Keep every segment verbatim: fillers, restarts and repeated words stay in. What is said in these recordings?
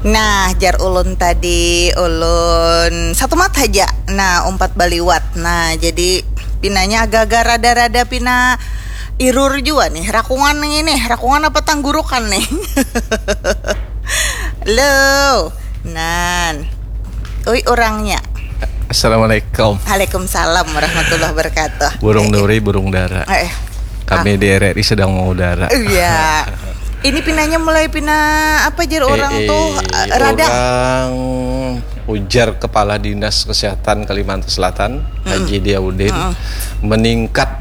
Nah, jar ulun tadi, ulun satu mat haja. Nah, umpat baliwat. Nah, jadi pinanya agak-agak rada-rada pina irur jua nih. Rakungan nih nih, rakungan apa tanggurukan nih? Lo, nan. Ui, orangnya. Assalamualaikum. Waalaikumsalam warahmatullahi wabarakatuh. Burung eh, eh. Duri, burung dara. Eh, eh. Kami ah. Di R R I sedang mengudara. Iya. Ini pinanya mulai pina apa jar orang eh, tuh eh, radang. Orang ujar Kepala Dinas Kesehatan Kalimantan Selatan, mm. Haji Diaudin, mm. Meningkat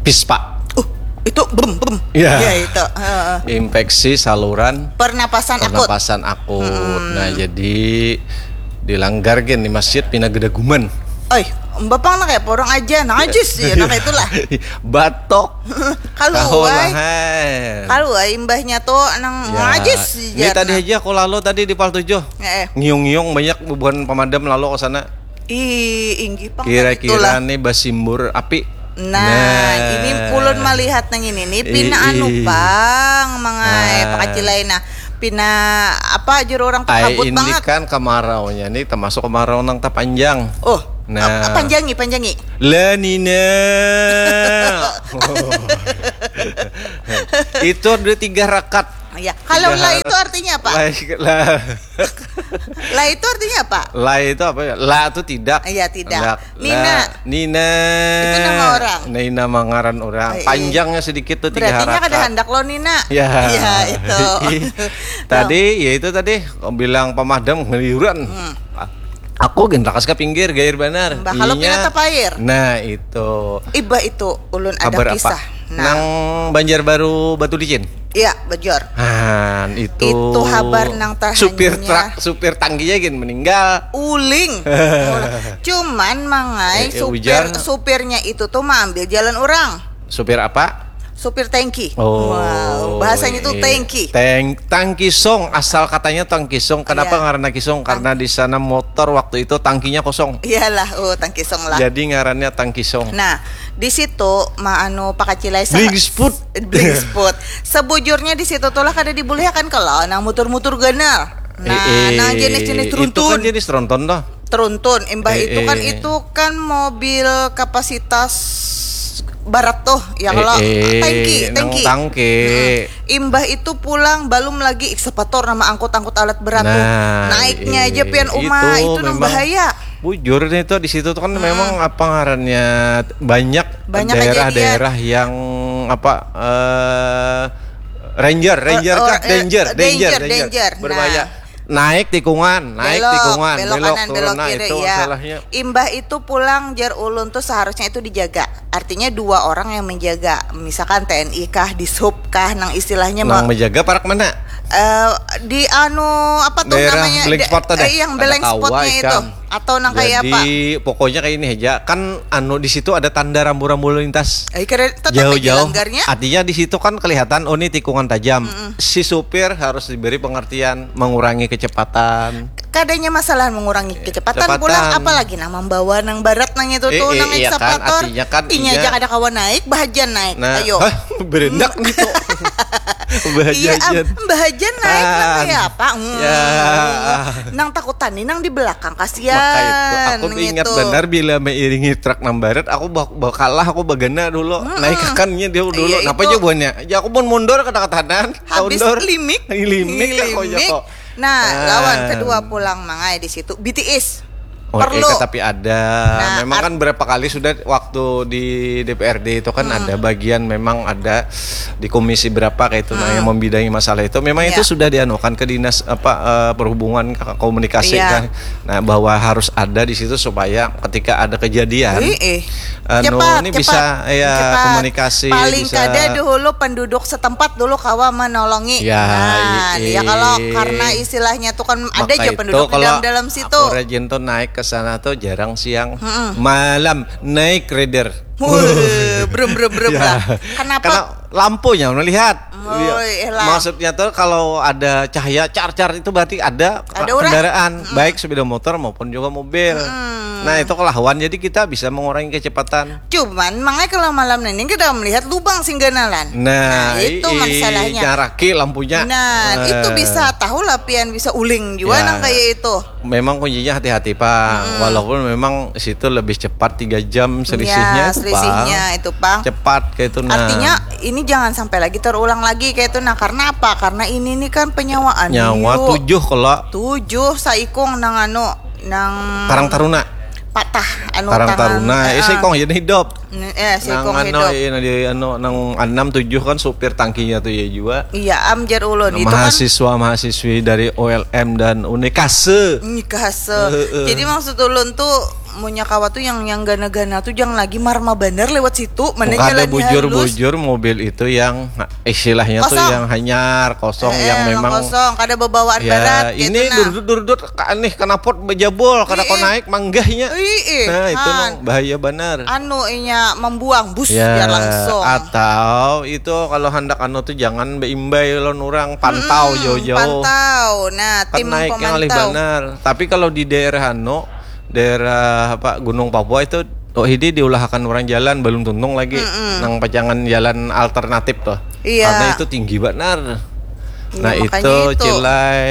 pispa. Uh, itu bem bem. Ya, ya itu. Uh. Infeksi saluran pernapasan, pernapasan akut. Akut. Hmm. Nah, jadi dilanggar gen di masjid pina gedaguman. Oi, bapang nak kayak porong aja, najis ya, nak itulah. Batok. Kalau ai, kalau ai imbahnya tuh nang ya, najis. Ini tadi aja aku lalu tadi di Pal tujuh. Eh. Ngiung-ngiung banyak bubuhan pemadam lalu ke sana. Ih, inggih pang. Kira-kira nih basimbur api. Nah, nah, ini ulun melihat nang ini nih pina anu pang mangai nah. Pakacilai nah pina apa juru orang tuh kabut ini banget. Ini kan kemaraunya nih termasuk kemarau nang tapanjang. Oh, nah. Panjangi, panjangi. La Nina. Itu ada tiga rakat. Ya, kalau la itu artinya apa? La, la. La itu artinya apa? La itu apa ya? La itu tidak. Iya, tidak. La, Nina. La, Nina. Itu nama orang. Nina mangaran orang. Ay, panjangnya sedikit tuh tiga harakat. Berarti kada handak lo Nina. Ya. Ya, itu. Tadi ya itu tadi bilang pemadam ngeliuran. Hmm. Aku gendakas ke pinggir gair banar. Mbah kalau pina tapair. Nah, itu. Iba itu ulun ada kisah. Nah. Nang Banjarbaru Batu Licin. Iya, bejor. Han, itu. Itu habar nang terhanyutnya. Supir truk, supir tangkinya gin meninggal. Uling. Cuman mangai eh, eh, supir ujar. Supirnya itu tuh maambil jalan orang. Supir apa? Supir tangki. Oh, wow, bahasanya tuh tangki. Tang tangki song, asal katanya tangki song. Kenapa ya. Karena kisong? Karena di sana motor waktu itu tangkinya kosong. Iyalah, oh tangki song lah. Jadi ngarannya tangki song. Nah, di situ ma anu pakacilai sa- Blingsput. Blingsput. Sebujurnya di situ tuh lah kada dibulihakan kalau nang mutur-mutur ganal. Nah, eh, eh, nang jenis-jenis teruntun. Itu kan jenis teruntun tuh. Teruntun, imbah eh, itu kan eh. Itu kan mobil kapasitas barat tuh ya kalau eh, eh, tangki, tangki. Tangki. Hmm. Imbah itu pulang belum lagi ekskavator nama angkut-angkut alat berat nah, tuh. Naiknya eh, aja pian uma itu, itu nang bahaya. Bujur nih tuh di situ tuh kan hmm. Memang apa ngarannya banyak, banyak daerah-daerah yang apa uh, ranger, ranger uh, kah? Uh, danger, danger, danger, danger, danger. Berbahaya. Nah. Naik tikungan, naik belok, tikungan, belok, belok kanan, turun, belok nah, kiri, itu ya. Masalahnya. Imbah itu pulang jar ulun tuh seharusnya itu dijaga. Artinya dua orang yang menjaga, misalkan T N I kah, Dishub kah, nang istilahnya nang menjaga parak mana? Uh, di anu apa tuh daerah namanya? Blank spot tadi. Eh, yang blank spotnya itu. Atau nang kayak apa? Jadi pokoknya kayak ini aja. Kan anu di situ ada tanda rambu-rambu lintas. Eh, jauh-jauh. Artinya di situ kan kelihatan oh ini tikungan tajam. Mm-mm. Si supir harus diberi pengertian mengurangi kecepatan. Kadanya masalah mengurangi kecepatan, kecepatan. Pulang apalagi nang membawa nang barat nang itu eh, tuh eh, nang iya ekskavator. Kan, kan, inya aja kada kawa naik, bahajan naik. Nah, ayo. Hah, berendak hmm. Gitu. Bahajan. Iya, bahajan naik ah, nang kayak apa? Hmm. Ya. Nang takutan nih nang di belakang kasihan. Maka itu aku ingat gitu. Benar bila meiringi truk nang barat aku bak bakalah aku bagana dulu. Mm-mm. Naik kakannya dia dulu. Iya, napa aja buahnya? Ya aku pun mundur kata katanan. Habis mundur. Limik. Limik aku aja kok. Nah, nah, lawan kedua pulang mangai di situ B T S. Oh, perlu. Eh, tapi ada. Nah, memang kan berapa kali sudah waktu di D P R D itu kan hmm. Ada bagian memang ada di komisi berapa kayak itu hmm. Nah yang membidangi masalah itu memang ya. Itu sudah dianukan ke dinas apa uh, perhubungan komunikasi ya. Kan. Nah, bahwa harus ada di situ supaya ketika ada kejadian eh, eh. Anu, cepat, ini cepat, bisa ya cepat. Komunikasi paling bisa. Kada dulu penduduk setempat dulu kawa menolongi. Ya, nah, iya. Ya kalau karena istilahnya tuh kan ada aja penduduk kalau di dalam, dalam situ. Aku rajin tuh naik ke sana tuh jarang siang. Mm-mm. Malam naik rider. Wuh, brum brum brum ya. Lah. Kenapa? Karena lampunya melihat. Oh, iya lah. Maksudnya tuh kalau ada cahaya car-car itu berarti ada, Ada orang. Kendaraan, baik sepeda motor maupun juga mobil. Nah, itu kelahuan, jadi kita bisa mengurangi kecepatan. Cuman, makanya kalau malam ini kita melihat lubang sing ganalan. Nah, Nah, itu ii, masalahnya. Nyaraki lampunya. Nah, Eh, itu bisa tahu lah pian bisa uling juga Ya. Nang kayak itu. Memang kuncinya hati-hati, Pang. Walaupun memang situ lebih cepat tiga jam selisihnya Ya, itu, selisihnya Pang. Itu, Pang. Cepat kayak itu, nah. Artinya ini jangan sampai lagi terulang lagi kayak itu. Nah, karena apa? Karena ini nih kan penyawaan. Nyawa Yuk. Tujuh kalau Tujuh saikung nang anu nang Karang Taruna. Patah anu Karang tangan. Taruna. Eh, Heeh. Saikung jadi hidup. N- Eh, Nang saikung anu, hidup. Ini di anu nang enam tujuh kan supir tangkinya tuh ya juga. Iya, am jar ulun itu kan. Mahasiswa mahasiswi dari O L M dan Unikase. Nikase. Heeh. Jadi maksud ulun tuh munya kawa tuh yang yang gana-gana tuh jangan lagi marma bandar lewat situ. Mana Kada jalannya bujur halus. Bujur mobil itu yang istilahnya tuh Kosong. Yang hanyar kosong Eh, yang eh, memang kosong, kada babawa alat Ya, berat ini gitu nah. Durdut-durdut ka anih kanapot bejabol kada Ih, kau ih. Naik manggahnya. Ih, ih, Nah, itu han. Nang bahaya banar. Anu inya membuang bus Ya, biar langsung. Atau itu kalau hendak anu tuh jangan beimbai lawan orang, pantau Mm-mm, jauh-jauh. Pantau. Nah, Kan tim naiknya ngalih pemantau. Banar. Tapi kalau di daerah anu, daerah apa Gunung Papua itu, oh, ini diulahakan orang jalan belum tuntung lagi. Nang pacangan jalan alternatif tuh. Iya. Karena itu tinggi banar. Iya, Nah, makanya itu itu. Cilai.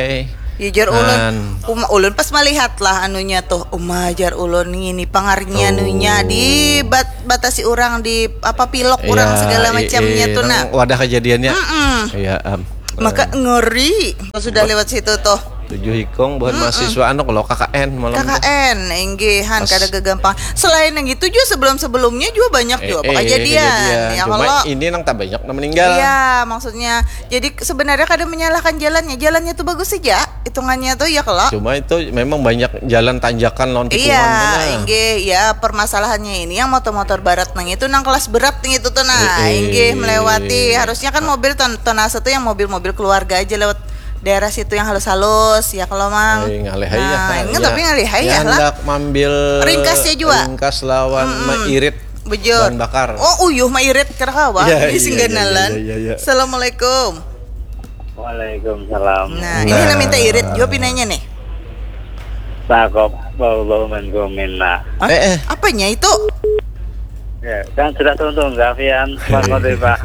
Ya jar ulun, Nan. Uma, ulun pas melihat lah anunya tuh, Uma jar ulun ngini pangarnya anunya di bat, batasi orang di apa pilok orang Ya, segala i- macamnya i- tuh nah. Nang wadah kejadiannya. Mm-mm. Ya, am. Maka ngeri sudah lewat situ tuh. Tujuh ikung buhan mahasiswa anu kalau K K N malam tuh. K K N inggihan Pas- kada gegampang. Selain yang itu juga sebelum-sebelumnya juga banyak juga Eh, eh, kejadian kejadian. Ya Cuma kalau ini nang tak banyak nang meninggal. Iya, maksudnya. Jadi sebenarnya kada menyalahkan jalannya. Jalannya tuh bagus saja hitungannya tuh ya kalau. Cuma itu memang banyak jalan tanjakan lawan tikungan Iya, mana. Inggih, ya permasalahannya ini yang motor-motor barat nang itu nang kelas berat nih itu tuh nah, Eh, eh. Inggih melewati harusnya kan mobil ton tonase tuh yang mobil-mobil keluarga aja lewat daerah situ yang halus-halus ya kalau mang. Eh, ngalih aja Nah, lah, enggak ya. tapi ngalih aja Ya, lah. Hendak mambil Ringkasnya juga. Ringkas lawan mairit Bujur. Bahan bakar. Oh, uyuh mairit kira kawa. Ya, Di iya, singgandalan. Iya, iya, iya, iya. Assalamualaikum. Waalaikumsalam. Nah, ini nah minta irit juga pinanya nih. Takop bau-bau minkum minna. Hah? Eh, eh. Apanya itu? Ya, kan sudah tuntung Gavian Bang Khotibah.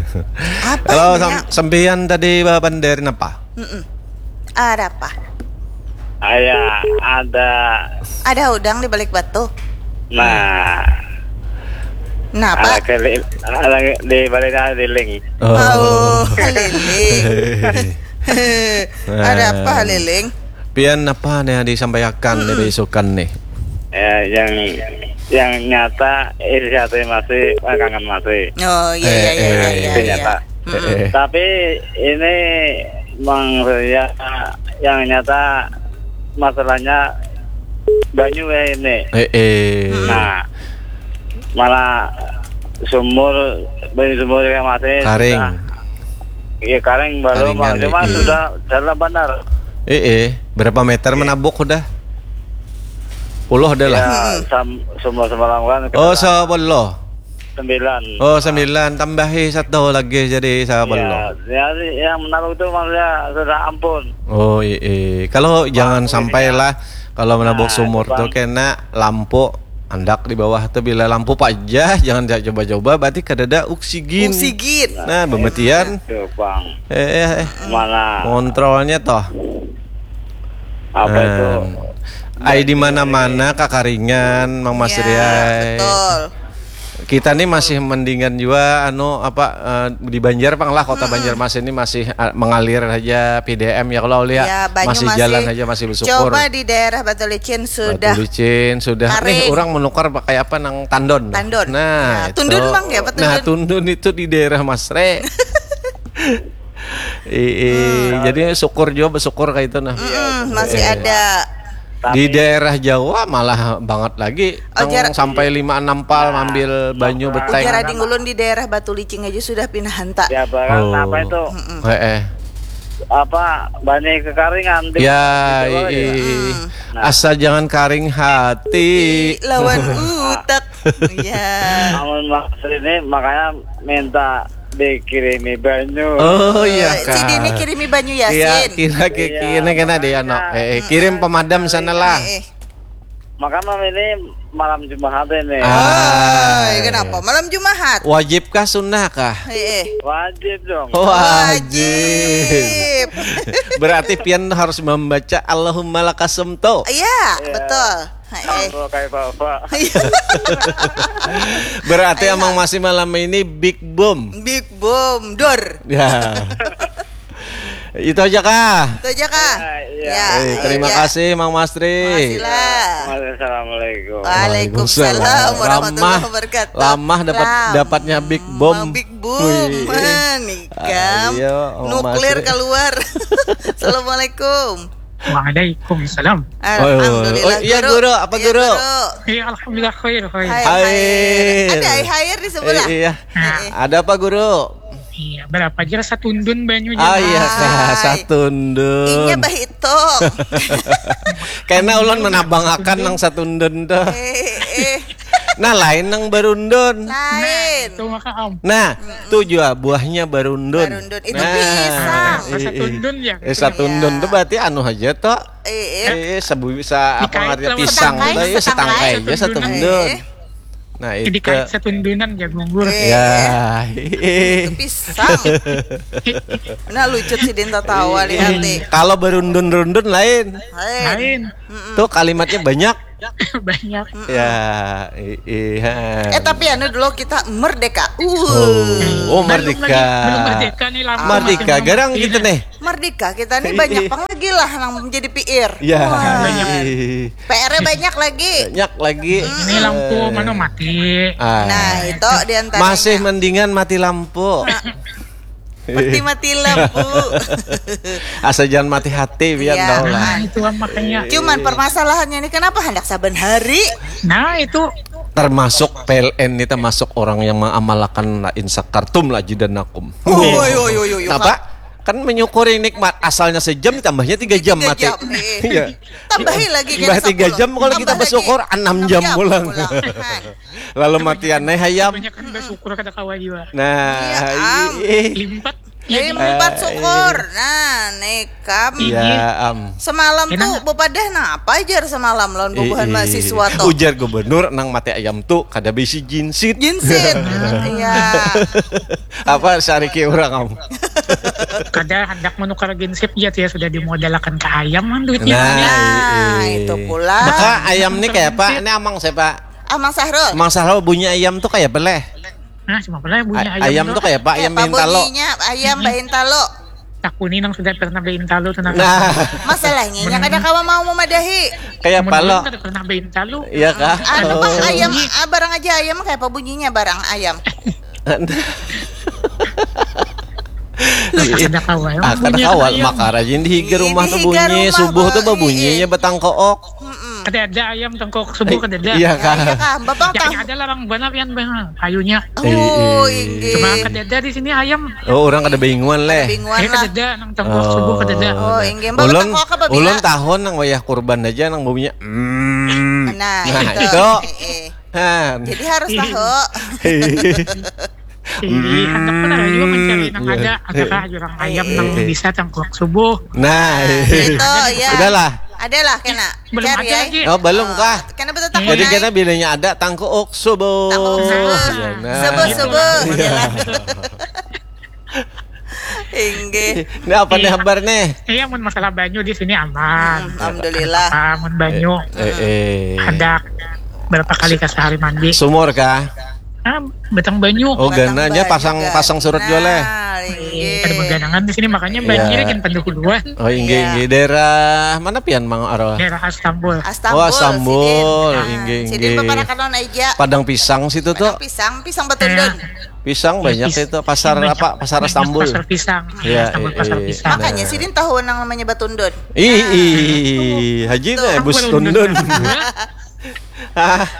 Apa Kalau namanya? Sam- sampeyan tadi bawa bandar apa? Mm-mm. Ada apa? Aya ada Ada udang di balik batu. Nah, Nah, apa? Ada keli, ada di balik ada liling. Oh, keliling. Ada apa, Liling? Pian apa nih disampaikan dari isukan nih? Ya, yang yang nyata isi hati masih kangen masih. Oh, iya, iya, iya, iya, iya. Itu nyata. Tapi ini Mang Surya yang nyata masalahnya banyu ya ini. Eh, eh. Nah, malah sumur banyu sumur yang masih Karing. Iya karing baru Karingan, cuma eh. Sudah dalam benar. Eh, eh. Berapa meter menabuk udah? Puluh ada lah. Ya, sam, semua semalam kan kita Oh, sebelum. Sembilan. Oh, sembilan tambahi satu lagi jadi sebelum. Ya, ya, yang menabuk itu maksudnya sudah ampun. Oh, iya. Kalau jangan sampai lah kalau menabuk Nah, sumur itu, tuh Bang. Kena lampu andak di bawah tuh bila lampu pajah jangan coba-coba berarti kadada oksigen. Oksigen. Nah, pemetian. Tuh, Bang. Eh, eh, eh. Mana Kontrolnya toh. Apa itu? Nah, ai di mana-mana kakaringan Mang Mas Ya, Riai. Betul. Kita nih masih mendingan juga anu apa eh, di Banjar pang lah kota Banjarmasin ini masih eh, mengalir aja P D M ya kalau lihat Ya, banyu masih masih- jalan aja masih bersyukur. Coba di daerah Batu Licin Batu sudah. Licin sudah Kering. Nih orang menukar pakai apa nang tandon. Tandon. Nah, Nah, tundun, itu. Bang, ya, apa Nah, tundun? Tundun itu di daerah Masre. Ii, jadi syukur juga bersyukur kayak itu nah. Mm, masih ada. Di daerah Jawa malah banget lagi Oh, nang jar- sampai lima enam pal ngambil banyu betai. Ujar ading ulun di daerah Batu Licin aja sudah pindah hanta. Ya barang Oh. Apa itu? Heeh. Apa banyak kekaringan di Ya, di Jawa ii. ya? Asal jangan karing hati. Lawan utak. Ya. Namun maksud ini makanya minta Dikirimi banyu. Oh iya Eh, Sidin ni kak. kirimi banyu Iya, Yasin. kira kira kena deh ano. Eh, kirim pemadam sana lah. Eh, eh. Maka malam ini malam Jumat ini. Ah. Ay, kenapa? Malam Jumat. Wajib kah sunnah kah? Eh, eh. Wajib dong. Wajib. Wajib. Berarti pian harus membaca Allahumma lakasumtu. Iya, betul. Eh, eh. Kalau kayak bapak. Berarti Ayo. Amang Masih malam ini big boom. Big boom dor. Ya. Itu aja kah? Itu aja kah? Ya, iya. Ya, Eh, terima iya. kasih Mang Mastri. Makasih lah. Assalamualaikum. Waalaikumsalam warahmatullahi Ramah, wabarakatuh. ramah dapat Ramah. Dapatnya big boom. Big boom. Wih. Nikam. Ayo, Om Nuklir Masri. Keluar. Assalamualaikum. Waalaikumsalam. Alhamdulillah. Oh, iya, guru. Apa, Iya, guru? Iya, alhamdulillah khair, khair. Hai, Hai. hai. Ada hai hair di sebelah. Eh, iya. Eh, eh. Ada apa guru? Iya, berapa aja satundun banyu Ah iya Hai. kah, satundun. Inya bahitok. Karena ulun menabangakan nang satundun tuh. Eh, eh. Nah lain nang barundun. Lain. Itu maka om. Nah, tuh jua buahnya barundun. Barundun. Itu Nah, pisang. i- i- Satundun ya. Eh, satundun tuh berarti anu aja toh. Eh, eh. Eh, sebu bisa apa Dikait ngerti lawan pisang setangkai, tuh ya setangkai aja satundun. Satundun. Eh. Nah, Jadi itu. Kayak satundunan jagung gur. Eh. Ya. Itu pisang. Nah lucu sih Dinta tawa lihat nih. Kalau berundun-rundun lain. Lain. Lain. Tuh kalimatnya banyak. Banyak. Ya, i- iya. Eh tapi anu dulu kita merdeka. Oh, Uh. oh Belum lagi, belum merdeka. merdeka nih, lampu Merdeka masih belum garang mati. Gitu nih. Merdeka kita nih banyak pang lagi lah yang menjadi P R. Ya. Wah. Iya. P R-nya banyak lagi. Banyak lagi. Ini lampu Eh, mana mati. ah. Nah, itu diantaranya. Masih mendingan mati lampu. Mati-mati lampu. Asa jangan mati hati biar Iya. tahu lah. Nah, itu makanya. Cuman permasalahannya ini kenapa hendak saban hari? Nah, itu Termasuk P L N ini termasuk orang yang mengamalkan la in syakartum la azidannakum. Oi, oi, oi, oi, Kenapa? Kan menyukuri nikmat asalnya sejam ditambahnya tiga jam Tiga mati. jam, eh. Iya. Tambah lagi Tambah tiga jam kalau kita bersyukur enam jam pulang. Nah, Lalu matian nih hayam. Banyak kan bersyukur kada kawa juga. Nah, Iya, am. ih. Limpat. Jadi empat syukur. Nah, nih kam. Iya, am. Semalam Enak tuh nggak? Bapak dah nah apa ajar semalam lawan bubuhan Ih, mahasiswa tuh. Ujar gubernur nang mati ayam tuh kada bisi jinsit. Jinsit. Iya. Apa sariki orang am? Kada hendak menukar ginsip ya, ya sudah dimodalakan ke ayam kan duitnya. Nah, Nah, iya. Itu pula. Maka ayam nih kayak apa? Ini amang siapa? Amang Sahrul. Amang Sahrul bunyi ayam tuh kayak apa leh? Nah, cuma pernah bunyi A- ayam. Ayam Dulu. Tuh kayak apa? Ayam Apa bintalo. Bunyinya ayam baintalu. Takuni nang sudah pernah baintalu tuh nang. Nah, Masalahnya nya kada kawa mau memadahi. Kayak apa lo? Kada pernah baintalu. Iya kah? Anu Oh. Pak, ayam ah, barang aja ayam kayak apa bunyinya barang ayam. Kada kawal. Ah, kada Bunyi kawal ayam. Makar aja di higa rumah Di tuh higa bunyi rumah, subuh tuh Bang. Bunyinya betangkook. Mm-mm. Kada ada ayam tengkok subuh kada ada. Iya kah? Iya kah? Bapak Yang tang. Ada larang banget yang banget kayunya. Oh, Eh, inggih. Cuma kada ada di sini ayam. Oh, orang kada bingungan leh. Bingungan Eh lah. Kada ada nang tengkok subuh kada ada. Oh, inggih. Bapak Ulun, tengkok apa ulun bila? Tahun nang wayah kurban aja nang baunya. Mm. Nah, Nah, itu. Itu. Eh, eh. Han. Jadi harus tahu. Jadi hendak pun ada juga mencari nang ada, ada kah jurang ayam nang bisa tengkok subuh. Nah, Itu ya. Udahlah. Adalah kena. Belum Cari ada ya. lagi. Oh, belum kah? Kena betul tak Jadi kena. Kena bilanya ada tangkuuk subuh. Tangkuuk subuh. Nah. Subuh subuh. Inggih. Ini apa nih kabar nih? Iya, mun masalah banyu di sini aman. Hmm, alhamdulillah. Ah, mun banyu Eh, eh. Ada berapa kali ke sehari mandi? Sumur kah? Ah, batang banyu. Oh, gananya pasang pasang surut juga leh. Nah, Eh, Ada inggih. Maganangan di sini makanya banjir Iya. kan pendahuluan. Oh, inggih Iya. inggih daerah mana pian Mang Arwah? Daerah Astambul. Astambul. Oh, Astambul, Sidin. Nah, inggih, Sidin inggih, paparak inggih. Kanon aja. Padang pisang situ tuh. Pisang, pisang batundun. Pisang banyak Pis- itu pasar banyak- apa? Pasar banyak Astambul. Pasar pisang. Iya, Astambul iya, pasar iya. pisang. Makanya Sidin tahu nang namanya batundun. Ih, ih, haji Tuh. nih bus Aku tundun. London.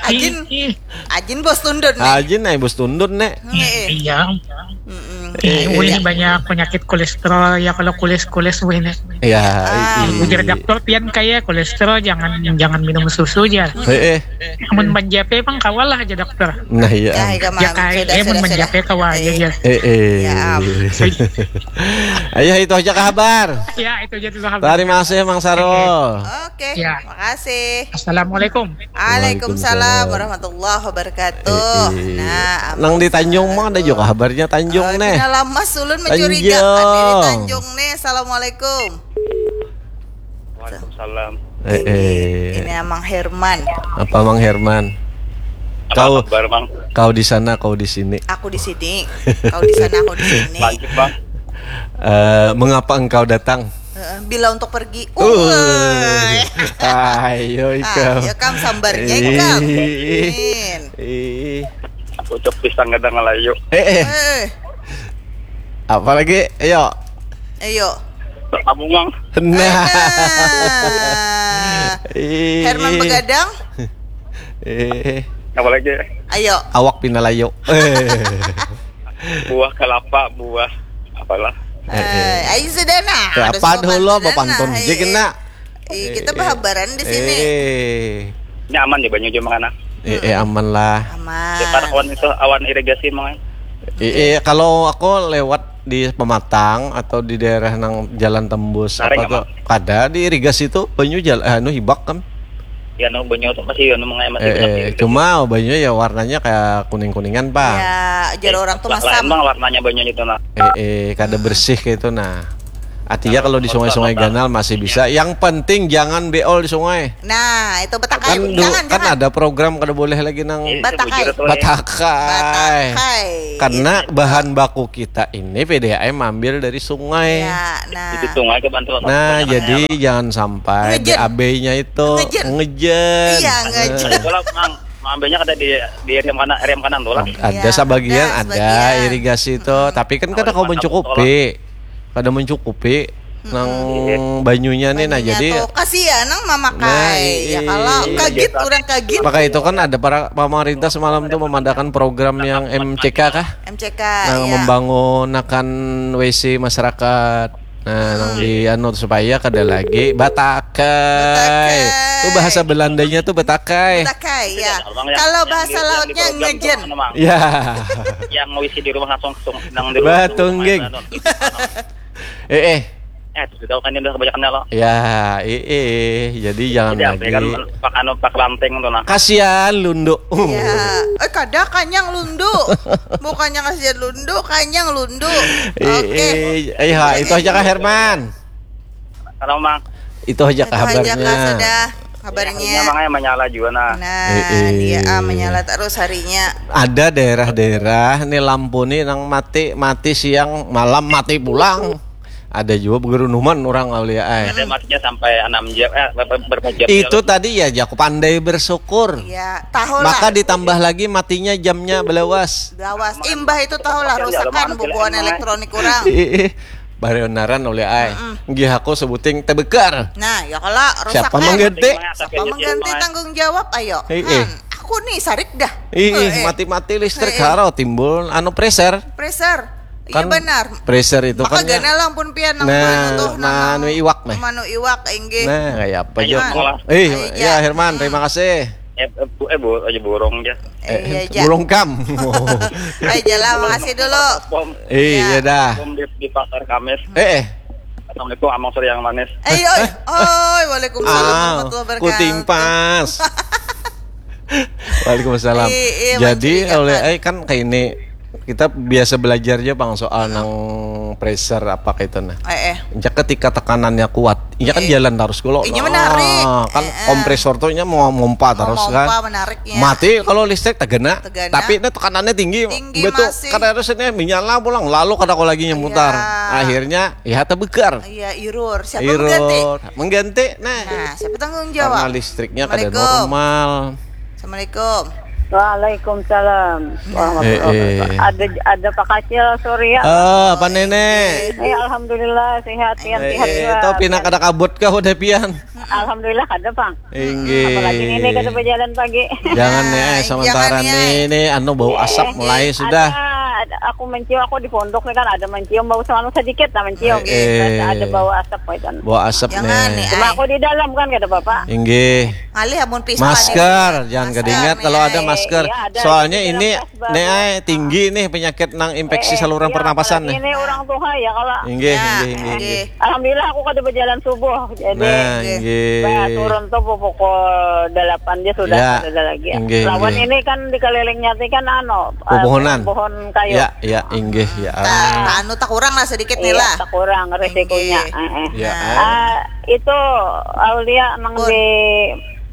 Ajin, Ih, ajin bos tundun nih. Haji nih bos tundun nek. Heeh. Iya. Mm-mm. Eh, ini banyak penyakit kolesterol ya, kalau kulis-kulis weh ini. Ya, ah. Ujar dokter pian kaya kolesterol, jangan jangan minum susu aja. Eh, eh. Amun menjape emang kawalah aja dokter. Nah, iya. Ya, ya, kayak mun menjape kawa aja ya. Eh, eh. Ya, ayo itu aja kabar. Ya, itu aja dulu kabar. Terima kasih Mang Sarul. Oke, ya. Makasih. Assalamualaikum. Waalaikumsalam warahmatullahi wabarakatuh. Eh, eh. Nah, nang di Tanjung mah ada juga kabarnya Tanjung uh, nih. Nah, lama sulun mencurigakan di Tanjung nih. Assalamualaikum. Waalaikumsalam. Eh, eh. Ini, ini Amang Herman. Apa Mang Herman? Kau kabar, Mang? Kau di sana, kau di sini. Aku di sini. Kau di sana, aku di sini. Lanjut, Bang. Uh, mengapa engkau datang? Uh, bila untuk pergi. Uh. Ayo ikam. Ah, ya kam sambarnya ikam. Ih. Aku cok pisang kadang ngelayu. Eh, eh. eh. Apalagi? Ayo. Ayo. Tabungang. Nah. Herman Begadang. Eh. Apalagi? Ayo. Awak pinalayo. Buah kelapa, buah apalah. Eh, ayo sudah nah. Apa dulu apa pantun? Jadi kena. Ih, kita berhabaran di sini. Eh. Ini aman ya banyu cuma anak. Eh, eh aman lah. Aman. Depan awan itu awan irigasi mau. Eh, eh kalau aku lewat di pematang atau di daerah nang jalan tembus Tarik apa tuh? Kada di irigasi tuh banyu jalan anu hibak kan. Ya no banyu tuh masih anu mengai masih eh, eh, cuma banyu ya warnanya kayak kuning kuningan pak. Ya, jadi orang tuh masam. Emang warnanya banyu itu nah. Eh, eh kada hmm. bersih kayak itu nah. Artinya kalau di sungai-sungai ganal masih bisa. Yang penting jangan beol di sungai. Nah, itu betakai. Kan, jangan, kan jangan. Ada program kada boleh lagi nang batakai. Batakai. Karena bahan baku kita ini P D A M ambil dari sungai. Ya, nah. Jadi sungai ke Bantul. Nah, jadi jangan sampai B A B-nya itu ngejen. Iya, ngejen. Kalau mang ambilnya kada di di area mana area kanan tuh lah. Ada ya, sebagian ada, ada sebagian. Irigasi itu, hmm. Tapi kan kada kau mencukupi. Kada mencukupi hmm. Nang banyunya nih nah jadi tuh, kasihan nang mamakai nah, ya kalau kaget orang kaget maka itu kan ada para pemerintah semalam tuh memadakan program yang M C K kah M C K nang ya. Membangunakan W C masyarakat nah hmm. Nang di anu supaya kada lagi batakai tuh bahasa Belandanya tuh batakai batakai ya kalau bahasa lautnya ngejen ya yang W C di rumah langsung nang di rumah batungging eh eh Eh, sudah kan udah kebanyakan lo. Ya, eh, eh, jadi jangan jadi, lagi. Kan, pak anu pak lanteng tuh nah. Kasihan lundu. Ya, eh kada kanyang lundu. Bukannya kasihan lundu, kanyang lundu. Oke. Okay. Eh, eh, itu aja kak Herman. Halo, Mang. Itu aja kabarnya. Itu aja kak, sudah. Kabarnya. Ya, makanya menyala juga nah. Nah, e -e. Dia ah, menyala terus harinya. Ada daerah-daerah nih lampu nih nang mati mati siang malam mati pulang. Ada juga begerunuman orang kali ya. Ada matinya sampai enam jam eh berapa jam. Itu tadi ya jago pandai bersyukur. Iya, tahu Maka lah. Maka ditambah lagi matinya jamnya belawas. Belawas. Imbah itu tahu lah rusakan bubuhan elektronik kurang. Barionaran oleh ai. Mm -mm. Nggih aku sebuting tebekar. Nah, ya kalau rusak. Siapa mengganti? Siapa mengganti tanggung jawab ayo. Hey, eh. Aku nih sarik dah. Ih, eh, eh. Mati-mati listrik eh, eh. Haro timbul anu preser. Preser. Iya kan benar. Preser itu Maka kan. Makanya lampun pian nang nah, manu tuh nah, anu iwak nih. Manu iwak inggih. Nah, kayak apa aja. Eh, ya Herman, terima kasih. Eh, eh, bu, eh, bu, aja burung aja. Eh, eh iya, burung kam. Aja lah, makasih dulu. Eh, iya dah. Di, di pasar Kamis. Eh, eh. Assalamualaikum, Amang Suri yang manis. Eh, oi, oi, waalaikumsalam ah, warahmatullahi wabarakatuh. Kutimpas. Waalaikumsalam. Iya, iya, Jadi oleh eh kan kayak ini kita biasa belajar aja bang soal nang pressure apa kayak itu nah. Eh, eh. Ketika tekanannya kuat, iya kan eh. Jalan terus kalau. Iya menarik. Kan eh, eh. Kompresor tuh nya mau mompa terus kan. Mompa menarik. Ya. Mati kalau listrik tergena, tergena. Tapi ini tekanannya tinggi. Tinggi betul. Masih. Karena harus ini menyala pulang lalu kada kau lagi nyemutar. Iya. Akhirnya ya terbekar. Iya irur. Siapa irur. Mengganti? Mengganti. Nah. Nah, siapa tanggung jawab? Karena listriknya kada normal. Assalamualaikum. Waalaikumsalam. Eh, eh. Ada ada Pak Kacil Surya. Oh, Pak Nenek. Eh, alhamdulillah sehat, sehat eh, juga. Tahu pina kada kabut kah udah pian? Alhamdulillah kada, Bang. Inggih. Apalagi ini kada berjalan pagi. Jangan nih, eh, sementara nih, ini anu bau asap eh, mulai sudah. Aku mencium, aku di pondok nih kan ada mencium bau semanu sedikit lah mencium. Eh, eh. Ada bau asap gitu. Bau asap. Jangan nih, nih. Cuma aku di dalam kan, kata bapak. Inggih. Ngalih amun pisau. Masker, jangan kedingat kalau ada masker. Iya, ada. Soalnya ini nih, ay, tinggi nih penyakit nang infeksi saluran pernapasan nih. Ini orang tua ya kalau. Inggih, ya, inggih, inggih, inggih. Alhamdulillah aku kada berjalan subuh. Jadi, nah, inggih. Bah, turun tuh pukul delapan dia sudah, ya, ada lagi. Inggih, lawan inggih. Ini kan di kelilingnya tuh kan anu, eh, pepohonan. Pohon kayu. Ya, ya, inggih, ya. Ta-, anu tak kurang lah sedikit nih lah. Iya, tak kurang resikonya. Inggih. Eh, eh. Ya. Ah, itu Aulia nang di,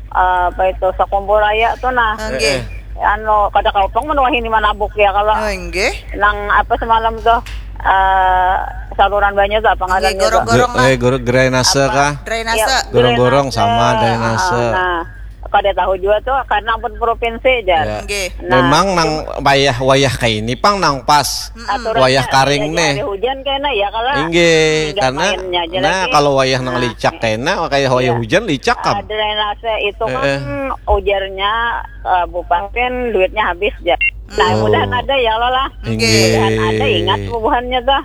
eh, apa itu, Sakumpul Raya tuh nah. Inggih. Eh, eh. Anu, kada kaupang menuahi ini manabuk ya kalau. Oh, inggih. Nang apa semalam tuh, eh, saluran banyu tuh apa ngarannya tuh? Gorong-gorong lah. Eh, gor-, drainase kah? Drainase. Ya, gorong-gorong sama drainase. Ah, nah. Kada tahu jua tuh, karena ampun provinsi jar. Ya. Nggih. Nah, memang nang wayah-wayah kayak ini pang nang pas. Mm-mm. Aturan wayah karing nih. Hari hujan kena ya kalau. Inggih, karena nah, kalau wayah nang licak kena, kayak wayah hujan licak kan. Ah, drainase itu kan ujarnya, eh, bupati duitnya habis jar. Nah, mudahan ada ya lo lah. Inggih. Mudahan ada, ingat bubuhannya tuh.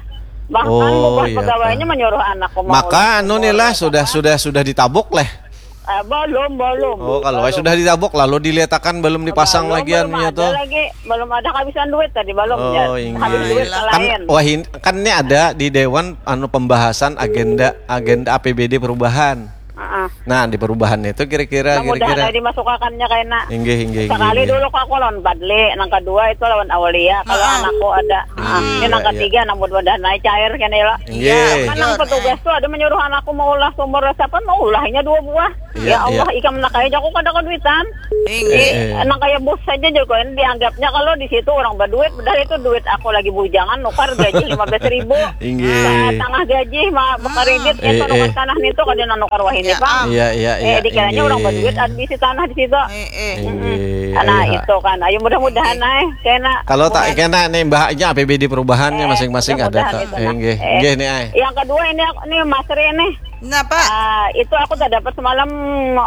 Bahkan bubuhan pegawainya menyuruh anakku mau. Maka anu nih lah, sudah, sudah, sudah ditabuk leh. Eh, belum, belum. Oh, kalau sudah ditabuk lalu diletakan, belum dipasang lagi anunya tuh. Belum ada lagi, belum ada kehabisan duit tadi, belum. Oh, inggih. Habis duit ke lain. Kan, wah, kan ini ada di dewan anu pembahasan agenda, agenda A P B D perubahan. Heeh. Nah, di perubahan itu kira-kira, nah, kira-kira. Mudahan dimasukakannya kena. Inggih, inggih, inggih. Sekali dulu aku lawan Badli, nang kedua itu lawan Aulia, kalau anakku ada. Ah, ini nang ketiga, nang mudah-mudahan naik cair kena ya. Inggih. Kan nang petugas tuh ada menyuruh anakku mau ulah sumur resapan, mau ulahnya dua buah. Iya, ya Allah, iya. Ikam nak aja aku kada keduitan. Inggih. Eh, eh. Nang kayak bos saja juga dianggapnya kalau di situ orang berduit, padahal itu duit aku lagi bujangan nukar gaji lima belas ribu. Inggih. Tengah gaji mah bakaridit itu nukar tanah nitu kada nang nukar wahini pang. Iya, iya, iya. Eh, dikiranya orang berduit ada bisi tanah di situ. Eh, eh. Inggih. Nah, itu kan. Ayo mudah-mudahan ay kena. Kalau tak kena nih mbahnya A P B D perubahannya masing-masing ada tak. Inggih. Inggih nih ay. Yang kedua ini aku nih Mas Ri nih. Napa? Ah, itu aku tak dapat semalam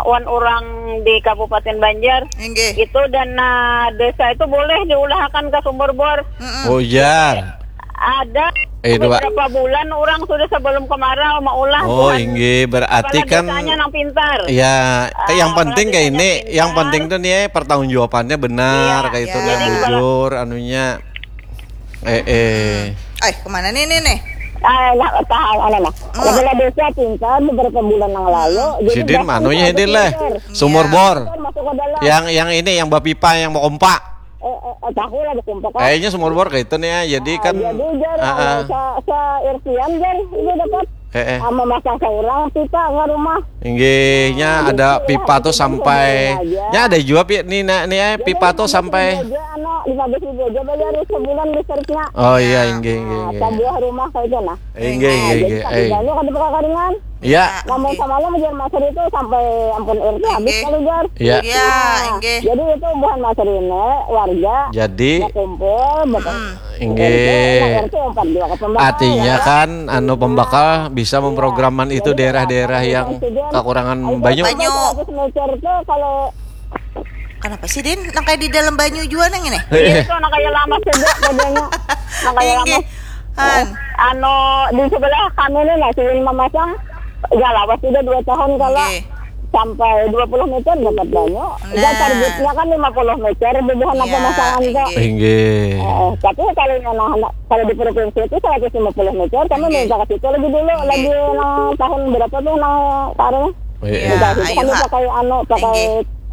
wan orang di Kabupaten Banjar. Inggih. Itu dana desa itu boleh diulahakan ke sumur bor. Mm-mm. Oh, iya. Ada beberapa bulan orang sudah sebelum kemarau maulah. Oh, inggih, berarti kan desanya nang pintar. Ya, yang penting kayak ini, yang penting tuh nih pertanggungjawabannya benar, kayak itu, iya, yang bujur anunya. Eh, eh. Eh, kemana nih, nih, nih? Ah, nah, tahan, anu, nah. Hmm. Kepala desa pintar beberapa bulan yang lalu. Hmm. Jadi sidin manunya sidin leh. Sumur bor. Masuk ke dalam. Yang, yang ini, yang bapipa, yang bakompa. Eh, eh, eh, tahu lah bakompa, kan? Kayaknya sumur bor kayak itu nih ya. Jadi kan, jadi jar, ah, ah. Sa, sa R T-an jar, ini dapat. Eh, eh. Ah, memasang seorang pipa ke rumah. Inggihnya ada pipa tuh sampai, ya ada juga pi, nih, nah, nih, eh, pipa tuh sampai. Aja, anu, lima belas ribu aja bayar sebulan listriknya. Oh iya, inggih, inggih, inggih. Sebuah rumah kayak itu nah. Inggih, inggih, inggih. Jadi satu banyak ada kekaringan. Iya. Namun semalam jar Mas Ri itu sampai ampun R T habis kali jar. Iya. Iya, inggih. Jadi itu buhan Mas Ri ini warga. Jadi kumpul, betul. Inggih. Artinya kan anu pembakal bisa memprograman itu daerah-daerah yang kekurangan banyu. Banyu. Seratus meter tuh kalau kenapa sih, Din? Nang kayak di dalam banyu jua nang ini? Iya, itu nang kayak lamas juga modelnya. Nang kayak lamas. Han. Anu di sebelah kami nih nah, sini memasang, ya lawas sudah dua tahun kalau sampai dua puluh meter dapat banyu. Nah. Targetnya kan lima puluh meter bubuhan pemasangan tuh. Inggih. Eh, tapi kalau yang anak-anak, kalau di provinsi itu seratus lima puluh meter, kami minta ke situ lagi dulu, lagi nang tahun berapa tuh nang kemarin? Iya, dikasih itu kami pakai anu, pakai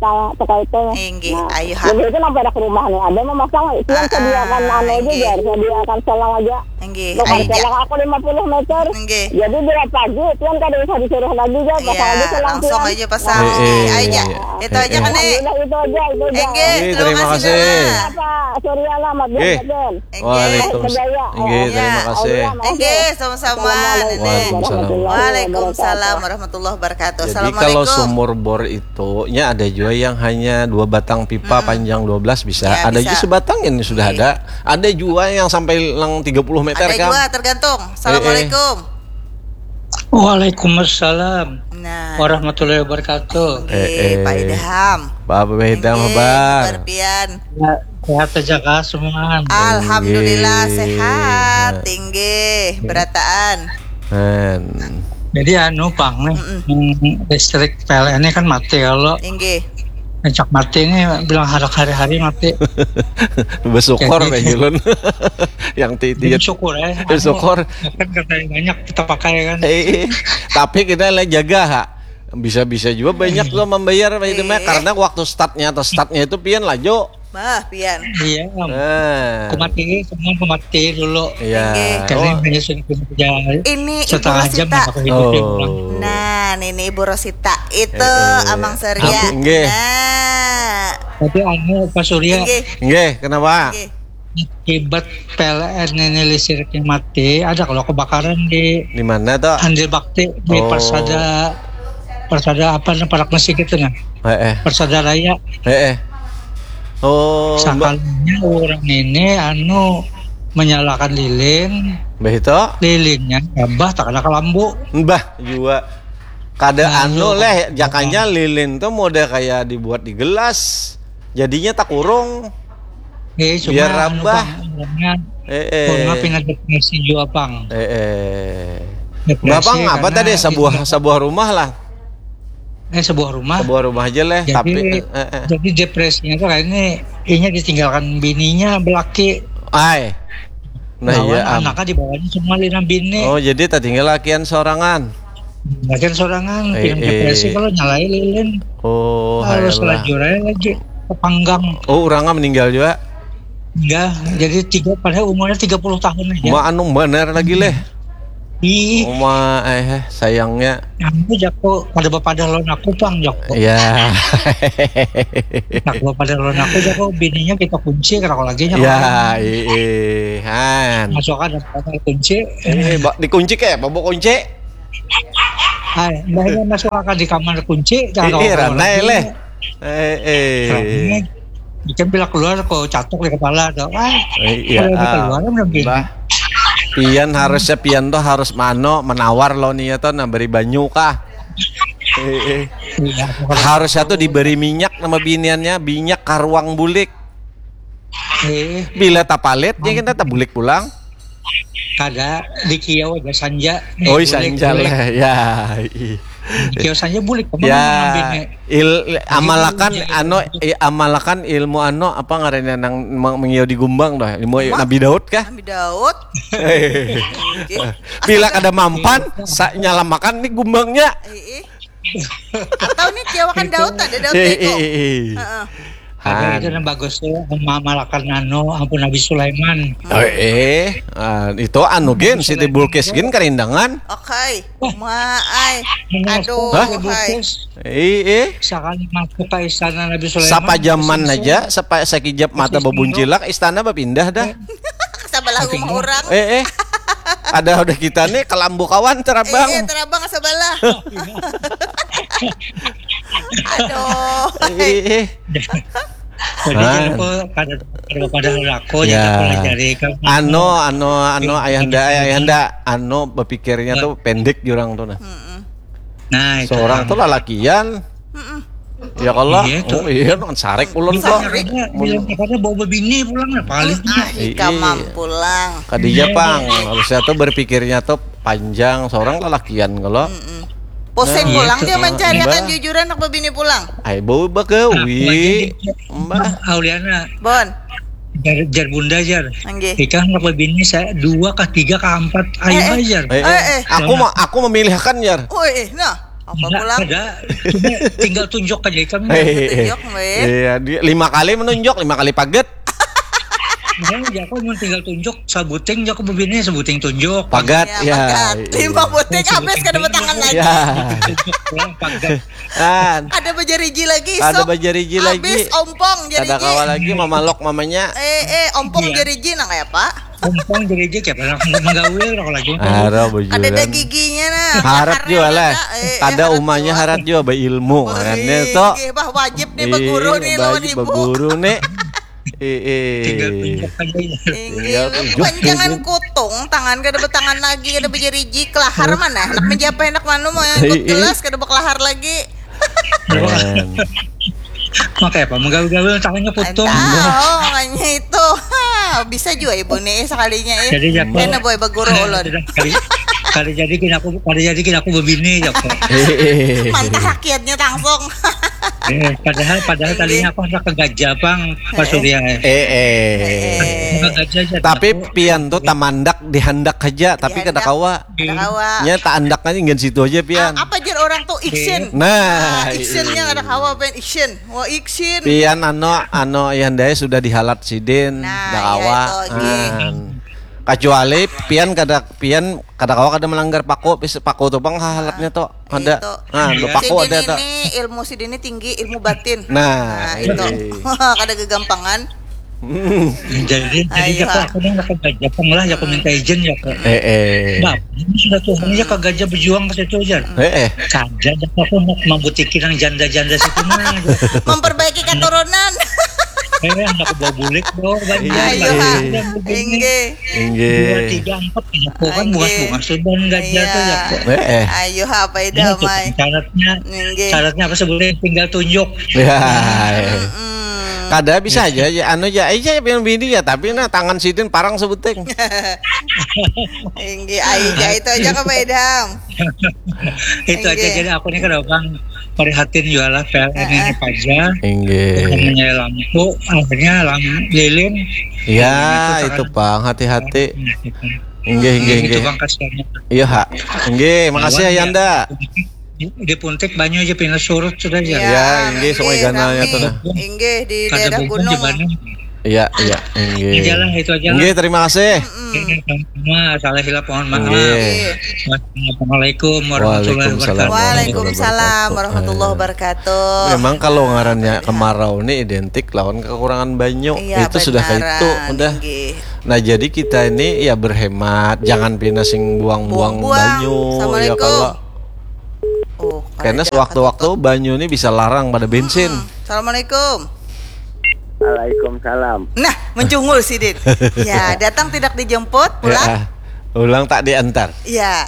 ta-, pakai itu. Inggih, nah, ayo, ha. Jadi itu nang pada ke rumah nih, ada memasang, itu yang sediakan anu aja, jar, sediakan selang aja. Inggih, tukar ayo, selang aku lima puluh meter. Inggih. Jadi bila pagi, tuan kada usah disuruh lagi, jar, pasang aja selang langsung aja pasang. Iya, iya, iya. Itu aja kan, nih. Alhamdulillah, itu aja, itu aja. Inggih, terima kasih. Apa, Surya lah, Mat Bian. Waalaikumsalam. Inggih, terima kasih. Inggih, sama-sama. Waalaikumsalam. Waalaikumsalam warahmatullahi wabarakatuh. Jadi kalau sumur bor itu, nya ada juga yang hanya dua batang pipa panjang dua belas bisa. Ya, ada juga sebatang ini sudah ada. Ada juga yang sampai lang tiga puluh meter kan. Ada juga, tergantung. Assalamualaikum. Waalaikumsalam warahmatullahi wabarakatuh. Nah. Inggih, Pak Idham. Pak Idham, Abah. Inggih, Pak Arfian. Ya. Sehat saja kah semua? Alhamdulillah Inggih. Sehat. Inggih, berataan. Han. Jadi anu pang nih, hmm, listrik P L N ini kan mati kalau Inggih. Ngecek mati nih bilang hari-hari mati. Bersyukur Jadi- kayak gitu. Yang ti Jadi ti- syukur ya. Bersyukur. Anu, kan katanya banyak kita pakai kan. Eh, tapi kita lah jaga ha. Bisa-bisa juga banyak tuh membayar itu mah Iya. Karena waktu startnya atau startnya itu pian lah Jo. Bah, pian. Iya. Nah. Aku mati, semua aku mati dulu. Iya. Inggih. Karena Oh. hanya sudah kerja Ini Ibu setengah jam Rosita. Aku hidup ya, Oh. pulang. Nah, ini Ibu Rosita itu Eh, eh. Amang Surya. Inggih. Nah. Tapi anu Pak Surya, Inggih. Nggih, kenapa? Inggih. Akibat P L N ini listriknya mati, ada kalau kebakaran di Di mana tuh? Andil Bakti di Oh. Persada, Persada apa nih, Parak Mesik itu nah. Eh, eh. Persada Raya. Eh, eh. Oh, Mbak. Sakalinya orang ini anu menyalakan lilin, Mbah itu? Lilinnya tambah tak ada kelambu. Mbah juga. Kada anu leh, jakanya lilin tuh model kayak dibuat di gelas. Jadinya tak kurung. Eh, cuma Biar anu, rambah. Bang, orangnya Eh, eh. Orangnya pindah depresi juga bang. Eh, eh. Depresi Bapak apa karena tadi sebuah itu- sebuah rumah lah. Eh sebuah rumah. Sebuah rumah aja leh, Jadi, tapi eh, eh. Jadi depresinya tuh kayaknya inya ditinggalkan bininya belaki. Ai. Nah, Lawan iya am. Anaknya dibawanya semua lina bini. Oh, jadi tak tinggal lakian sorangan. Lakian sorangan Eh, film depresi eh. Kalau nyalai lilin. Oh, Harus hayalah. Lajur aja lagi ke panggang. Oh, orangnya meninggal juga. Enggak, jadi tiga padahal umurnya tiga puluh tahun aja. Ma anu bener lagi leh. Ih, Oma eh sayangnya. Aku jako kada bapadah lawan aku pang jako. Ya. Kada bapadah lawan aku jako, bininya kita kunci kada lagi jako. Ya, ih, han. Masuk ada kamar kunci. Eh, ba- dikunci kayak apa bu kunci? Hai, mbahnya masuk akan di kamar kunci, jangan Ih, bawa ranai lagi. Leh. Eh, eh. Ikan bila keluar kok catok di kepala tuh. Ah, Eh, iya, kalau ada ah, keluar udah gini. Bah. Pian harusnya pian tuh harus mano menawar lo nih ya tuh nah beri banyu kah? Eh, eh. Iya, Harusnya tuh diberi minyak nama biniannya, minyak karuang bulik. eh, Bila tapalit ya kita tabulik pulang. Kada di kiau aja sanja. Eh, Oh, bulik, sanja bulik. Leh. Ya. Ih. Di kiau sanja bulik kemana Ya, ngambilnya? il, amalakan Iya. Ano i- amalakan ilmu Ano apa ngarannya nang meng- mengiau di gumbang dah. Ilmu Apa? Nabi Daud kah? Nabi Daud. Oke. Bila kada mampan, sa nyalamakan nih gumbangnya. Ih, ih. Atau nih kiawakan Daud ada Daud Eh, itu. eh, eh, eh. Heeh. Ada Han. Itu yang bagus tuh, mamalakan anu, ampun Nabi Sulaiman. Oh, eh, ah, itu anu gen Siti Bulkis gen karindangan. Oke. Ma ai. Aduh, Hah? hai. Eh, eh. Sekali masuk ke istana Nabi Sulaiman. Sapa zaman Sing- aja, sapa sakijap mata Sing- bebuncilak istana bapindah dah. Sebelah rumah orang. Eh, eh. Ada udah kita nih kelambu kawan terabang. Eh, eh, terabang sebelah. Aduh. Eh, eh. Jadi Ah. jangan kok kada kada pada aku Ya. jadi pelajari kan. Ano, ano, ano, Iya. ayahanda, ayahanda, ano berpikirnya tuh pendek jurang tuh nah. Nah, itu Seorang kan. Tuh lalakian. Ya kalau, Iya, tuh. Oh iya, nang sarek ulun kok. Makanya bilang katanya bawa bini pulang lah paling. Ah, ika Iya. mampu lang. Kadija pang, harusnya tuh berpikirnya tuh panjang. Seorang lalakian kalau. Pusing Nah, pulang itu. Dia mencari akan Mbah. Jujuran anak bebini pulang. Ai bau bagawi. Mbah. Auliana, Bon. Jar, jar bunda jar. Nggih. Ikam anak bebini saya dua kah tiga kah empat ayo Eh, eh. jar. Eh, Eh, eh. Aku ma- aku memilihkan jar. Oh, eh, nah. Apa Enggak, pulang? Ada. Cuma tinggal tunjuk aja ikam. Eh, eh, eh. Tunjuk, weh. Iya, di- lima kali menunjuk, lima kali paget. Nah, ya aku mau tinggal tunjuk sabuting, aku bebini sabuting tunjuk. Pagat, Ya, ya. pagat. Lima buting habis kada bertangan lagi. Ya. Tunjuk pulang pagat. Kan. Ada bajariji lagi. Ada Sok. bajariji lagi. Habis ompong Kada jariji. Kawa lagi mamalok mamanya. Eh, eh, ompong Iya. Jariji nang kayak apa? Ompong jariji kayak apa? Menggawil aku lagi. Ada bajuran. Ada dagiginya nah. Harat juga lah. Eh, eh, Kada harat umanya juga. Harat juga beilmu. Wah, Kan ih, itu. Bah wajib nih Ih, beguru nih lawan wajib ibu. Beguru nih. Eh, eh. Tinggal tunjuk aja ya. Inggih, Tinggal tunjuk. Panjangan kutung, tangan kada bertangan lagi, kada berjariji, kelahar mana? Anak menjapa anak manu mau yang ikut Iya. Gelas kada berkelahar lagi. Man. Makanya apa? Menggaul-gaul tangannya putus. Tahu makanya itu. Ha, bisa juga ibu nih sekalinya ya. Jadi ya, kena boy baguru ulun. Kali, kali jadi kena aku, kali jadi kena aku bebini ya kok. Mantap rakyatnya langsung. Eh, padahal padahal tadinya aku hendak ke gajah bang, Pak Surya. Eh, eh. Tapi pian tuh tamandak dihandak aja, tapi kada kawa. Ada kawa. Nya tak andak aja ngan situ aja pian. Apa jar orang tuh action? Nah, actionnya ada kawa pen action. Wah action. Pian ano ano ayandanya sudah dihalat sidin, Nah, dah iya, kawa. Itu lagi. Nah. Kecuali pian kada pian kada kawa kada melanggar paku, pis paku tuh bang halatnya tuh ada. Itu. Nah, Iya. paku Sidin ada tuh. Ini ilmu sidin ini tinggi ilmu batin. Nah, Nah, itu. iya. Kada gegampangan. Jadi jadi Ayo, ya ah. Aku hendak ke gajah pang lah, ya aku minta izin ya kok. Eh, eh. Nah, ini sudah tuh, ini ya ke gajah berjuang ke situ aja. Eh, eh. Saja dah aku mau membutikin yang janda-janda situ mah. Memperbaiki keturunan. Eh, aku bawa bulik dong, banyak. Ayo, Banyak ha. yang begini. Inggih. Dua, Inggih. Tiga, empat, ya, aku kan Inggih. bungas-bungas sudah gajah Iya. tuh ya kok. Eh, eh. Ayo apa Ya, dah itu mai. Syaratnya, Inggih. syaratnya apa sebenarnya tinggal tunjuk. Ya. Hmm. Kada bisa aja ya anu ya aja yang bini ya tapi nah tangan sidin parang sebuting. Inggih, ai ja itu aja ke Pak Idham. Itu aja Inggih. Jadi aku nih kada bang merihatin jualah P L N ini aja. Inggih. Namanya lampu, akhirnya lam lilin. Ya, itu pang hati-hati. Inggih, inggih, Itu inggih. Bang kasihannya. Iya, ha. Inggih, makasih ya Yanda. Di Puntik banyu aja pindah surut sudah aja. Ya, inggih, Sungai Ganalnya Rami. Tuh, nah. Inggih di Kada daerah bunyi gunung. Banyu. Iya, iya, inggih. Aja lah, itu aja lah. Inggih, terima kasih. Ini sama salah hilap mohon maaf. Inggih. Wassalamualaikum warahmatullahi Waalaikumsalam. wabarakatuh. Waalaikumsalam warahmatullahi wabarakatuh. Memang kalau ngarannya kemarau ini identik lawan kekurangan banyu. Iya, Itu sudah kayak benaran, itu, udah. Inggih. Nah, jadi kita ini ya berhemat, jangan pina sing buang-buang Buang-buang. banyu, ya Assalamualaikum. Kalau Oh, karena kada sewaktu-waktu banyu ini bisa larang pada bensin. Hmm. Assalamualaikum. Waalaikumsalam. Nah, mencungul sidin. Ya, datang tidak dijemput, pulang. Ya, ulang tak diantar. Ya.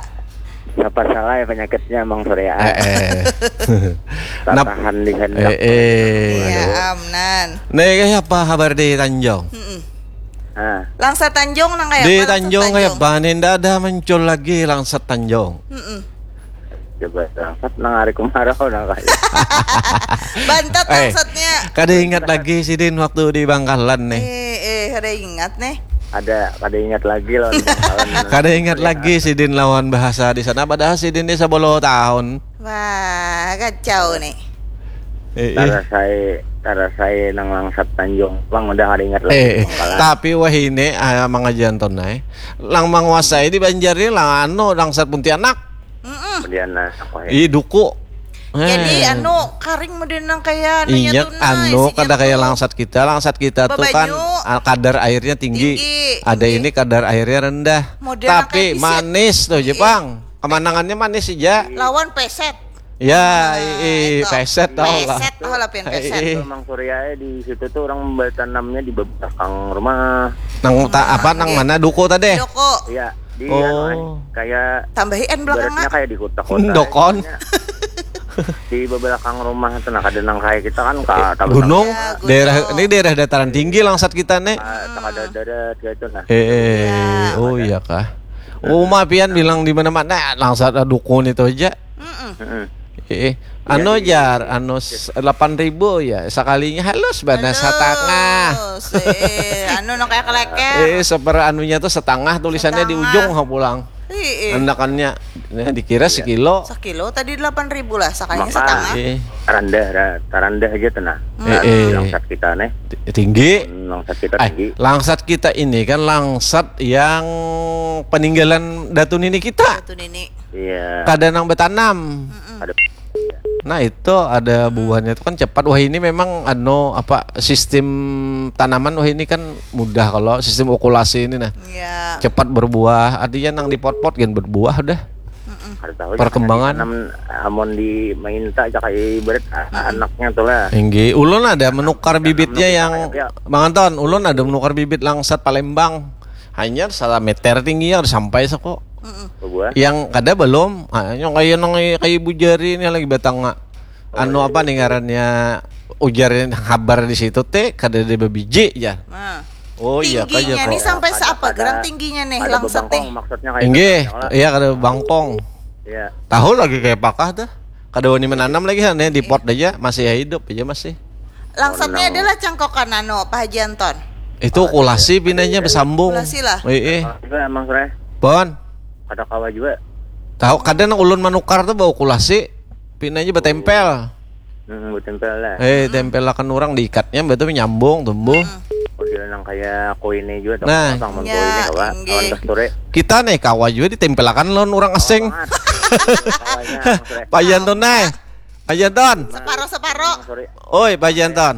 Siapa salah ya penyakitnya Mang Surya. Eh, eh. Nap- Tatahan di hendak. Eh, eh. Ya, amnan. Nih, kayak apa kabar di Tanjung? Mm-mm. Nah, Langsat Tanjung nang kayak Di apa, Langsat Tanjung kayak apa? Nih, ndak ada muncul lagi Langsat Tanjung. Mm-mm. Coba Langsat nang hari kemarau nang kayak. Bantat Eh, Langsatnya. Kada ingat lagi sidin waktu di Bangkalan nih. Eh, eh, kada ingat nih. Ada kada ingat lagi lawan Bangkalan. Kada ingat lagi sidin lawan bahasa di sana, padahal sidin di sepuluh tahun. Wah, kacau nih. Eh, eh. Tarasai tarasai nang Langsat Tanjung. Bang udah kada ingat lagi. Eh, eh. Bangkalan. Tapi wah ini ah, mangajian tonai. Lang manguasai di Banjar ini lang anu Langsat Pontianak. Mm-mm. Kemudian nah, apa ya? Ih, duku. Jadi Eh. Anu kering model nang kayak anunya Iya, tuh nah, anu isinya kada kayak tuh Langsat kita. Langsat kita tuh kan Babanyu. Ah, kadar airnya tinggi. Tinggi. Ada ini kadar airnya rendah. Model Tapi kayak pisit. Manis tuh, Iya. Jepang. Kemenangannya manis aja. Lawan peset. Ya, Nah, i, i, itu. Peset tau lah. Peset, oh lah pian peset. Eh, eh. Mang Surya di situ tuh orang bertanamnya di belakang rumah. Nang ta, apa nang mana duku tadi? Doko. Iya, di Oh. anu, eh, kayak Tambahi N belakang ibaratnya nggak? Kayak di kota-kota. Dokon. Di belakang rumah itu nah kada nang kayak kita kan ka tahu Gunung, Ya, gunung. Daerah ini daerah dataran tinggi Langsat kita nih. Ka- tak ada darat kayak itu nah. Eh, oh iya kah? Oh, ma pian bilang di mana-mana Langsat dukun itu aja. Mm-mm. Heeh. Eh, anu jar, anu s- delapan ribu ya sekalinya halus bana setengah. Terus, eh, anu nang kayak keleker. Eh, seper anunya tuh setengah tulisannya di Setengah. Ujung ha pulang. Ih, ih. Anakannya nah, dikira sekilo. Sekilo tadi delapan ribu lah, sakalinya Maka- setengah. Eh, Rendah ra- rendah aja tuh nah. Eh, eh. Langsat kita nih. Tinggi. Langsat kita Ay, tinggi. Langsat kita ini kan Langsat yang peninggalan datu nini kita. Itu nini. Iya. Kada nang betanam. Ada Nah itu ada buahnya itu kan cepat. Wah ini memang anu apa sistem tanaman wah ini kan mudah kalau sistem okulasi ini nah Ya. cepat berbuah. Artinya nang di pot-pot kan berbuah udah. Kada tahu ya, Perkembangan. Nam, amun di mainta aja kayak ibarat a- anaknya tuh lah. Inggih, ulun ada menukar bibitnya Anu, yang kayak ya. Bang Anton, ulun ada menukar bibit Langsat Palembang. Hanya salah meter tingginya udah sampai seko. Berbuah. Yang kada belum, ah, yang kayak nang kayak ibu jari ini lagi batang anu apa nih ngarannya Ujar habar di situ teh kada ada babiji ya. Nah. Oh iya kah Tingginya ya nih kok. Sampai Ada- seapa ada- gerang tingginya nih Ada langsat bebangkong nih. Maksudnya kayak Inggih, gitu, ya, iya kada bangkong. Iya. Tahu lagi kayak pakah tuh. Kada wani menanam lagi kan ya di pot aja masih hidup aja masih. Langsatnya Oh, no. Adalah cangkokan anu Pak Haji Anton. Itu kulasi pinanya bersambung. Kulasi lah. Eh, eh. Kalau juga emang sore Bon, ada kawa juga. Tahu kada nang ulun manukar tuh bau kulasi, pinanya betempel. Hmm, betul lah. Eh, tempelakan orang diikatnya betul nyambung tumbuh. Model nang kayak koine juga tuh. Nah. Bang, mun Ya, koine apa? inggih. Awan kasturi. Kita nih kawa juga ditempelakan lawan orang asing. Kawanya, Bang Sre. Pak Janton nih. Pak Janton. Separo-separo. Sorry. Oi, Pak Janton.